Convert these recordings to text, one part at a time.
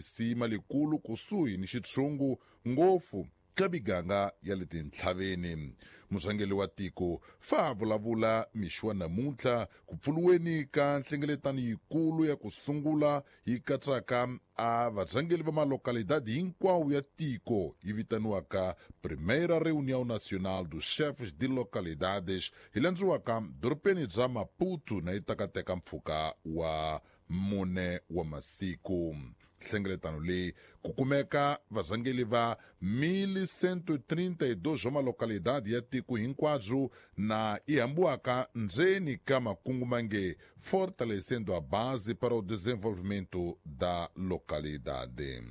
lisima likulu kusuhi ni xitshungu ngopfu ka miganga ya le tintlhaveni. Murhangeri wa tiko fa vulavula mixo wa namuntlha ku pfuriweni ka nhlengeletano yikulu ya ku sungula yi katsaka a varhangeri va malokalidade hinkwawo ya tiko yi vitaniwaka Primeira Reunião Nacional dos Chefes de Localidades hi landziwaka dorobeni bya Maputo na yi takateka mpfhuka wa 4 wa masiku. Nhlengeletano leyi ku kumeka varhangeri va 1132 wa malokalidade ya tiko hinkwabyo na yi hambiwaka ndzeni ka makungu mange Fortalecendo a Base para o Desenvolvimento da Localidade.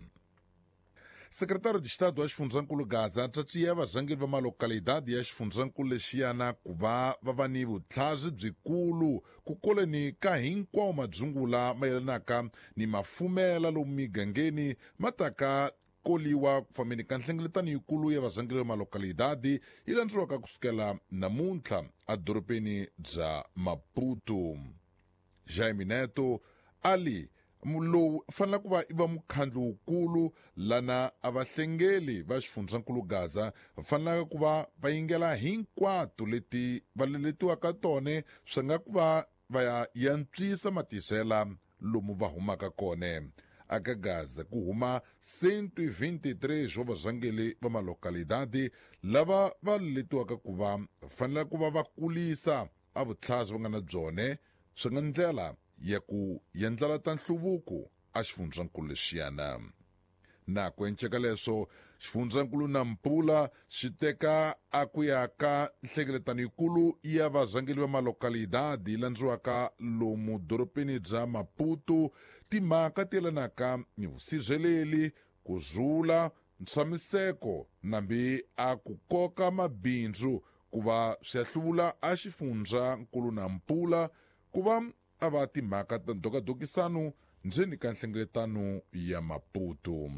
Secretário de Estado wa xifundzankulu Gaza tshatsiya varhangeri va malokalidade ya xifundzankulu lexiyana ku va va va ni vutlhari byikulu ku koleni ka hinkwawo madzungula mayelanaka ni mafumela lomu migangeni ma taka koliwa ku fambeni ka nhlengeletano yikulu ya varhangeri va malokalidade yi landzeriwaka kusukela namuntlha edorobeni bya Maputo. Jaime Neto ali lowu fanele ku va i va mukhandlu wukulu lana a vahlengeli va xifundzankulu Gaza va fanelaka ku va va yingela hinkwato leti va leletiwaka tone swi nga ku va va ya yantswisa matisela lomu va humaka kone. Aka Gaza ku huma 123 wa varhangeri va malokalidade lava va leletiwaka ku va fanele ku va va kulisa a vutlhari va nga na byone swi nga ndlela ya ku yendlela ta nhluvuko a xifundzankulu lexiyana. Na ku enceka leswo xifundzankulu Nampula xi teka a ku ya ka nhlengeletano yikulu ya varhangeri va malokalidade yi landziwaka lomu dorobeni bya Maputo timhaka ti yelanaka ni vusirheleli, ku rhula, ntshamiseko nambi a ku koka mabindzu ku va swi ya hluvula a xifundzankulu Nampula ku va a va timhaka ta ndhokadokisano ndzeni ka nhlengeletano ya Maputo.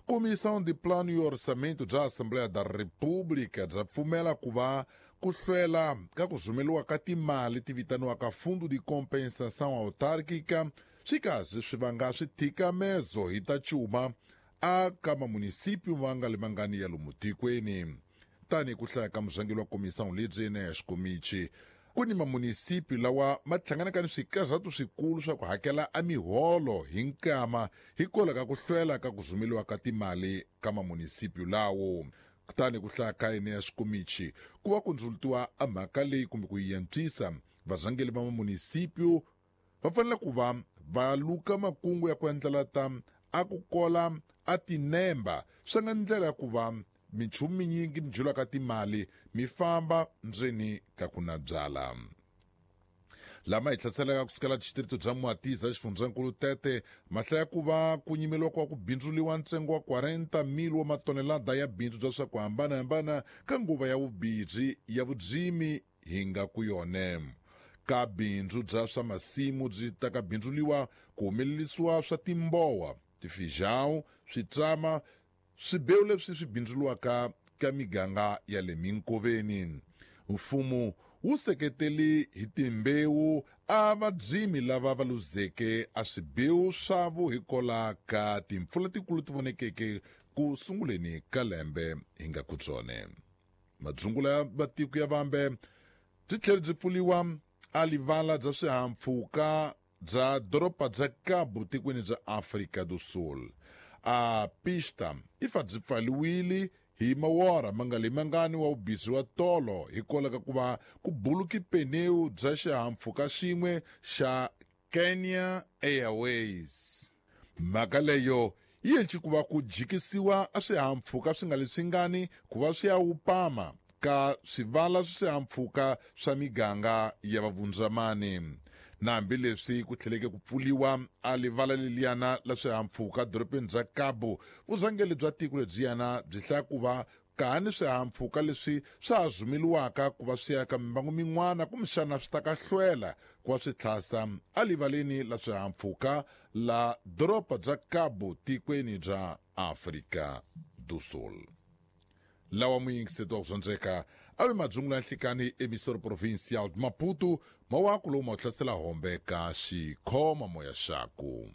Comissão de Plano e Orçamento bya Assembleia da República bya pfumela ku va ku hlwela ka ku rhumeriwa ka timali ti vitaniwaka Fundo de Compensação Autárquica swi kazi swi vanga swithikamezo hi ta cuma a ka mamunisipio ma nga le mangani ya lomu tikweni. Tanihi ku hlaya ka murhangeri wa comissão lebyi Eneas Komichi, ku ni mamunisipi lawa ma hlanganaka ni swikarhato swikulu swa ku hakela a miholo hi nkama hikwalaho ka ku hlwela ka ku rhumeriwa ka timali ka mamunisipi lawo. Kutani ku hlaya ka Eneas Komichi ku va ku ndzulutiwa a mhaka leyi kumbe ku yi antswisa, varhangeri va mamunisipio va fanele ku va va luka makungu ya ku endlela ta a ku kola a tinemba swi nga ndlela ya ku va minchumu minyingi mi julaka timali mi famba ndzeni ka ku na byala. Lama hi hlaselaka kusukela distrito bya Mwatiza xifundzankulu Tete mahlaya ku va ku nyimeliwa kwa ku bindzuliwa ntsengo wa 40,000 wa matonelada ya bindzu bya swa ku hambanahambana ka nguva ya vubidzi ya vudzimi hi nga ku yone. Ka bindzu bya swa masimu byi ta ka bindzuliwa ku humelerisiwa swa timbowa, tifijão, switsama, swibewu leswi swi bindzuliwaka ka miganga ya le minkoveni. Mfumo wu seketeli hi timbewu a vadzimi lava va luzeke a swibewu swavo hikola ka timpfula tikulu ti vonekeke ku sunguleni ka lembe hi nga ku byone. Madzungula ya matiko ya vambe byi tlhele byi pfuliwa a livala bya swihahampfhuka bya doroba bya Cabo tikweni bya Afrika do Sul. A pista i fa byi pfaliwile hi mawora ma nga le mangani wa vubizi wa tolo hikwalaho ka ku va ku buluki peneu bya xihahampfhuka xin'we xa Kenya Airways. Mhaka leyo yi endli ku va ku jikisiwa a swihahampfhuka swi nga leswingani ku va swi ya wupama ka swivala swa swihahampfhuka swa miganga ya vavundzamani. Na hambileswi ku tlheleke ku pfuliwa a livala leliyana la swihahampfhuka dorobeni bya Cabo, vurhangeri bya tiko lebyiyana byi hlaya ku va ka ni swihahampfhuka leswi swa ha rhumeliwaka ku va swi ya ka mimbangu min'wana kumbexana swi ta ka hlwela ku va swi tlhasa alivaleni la swihahampfhuka la doroba bya Cabo tikweni bya Afrika do Sul. Lawa muyingiseti wa ku zondzeka a ve madzungula ya nhlikani emisoro provincial de Maputo mawaku lowu ma wu hlasela hombe ka xikhoma moya xaku.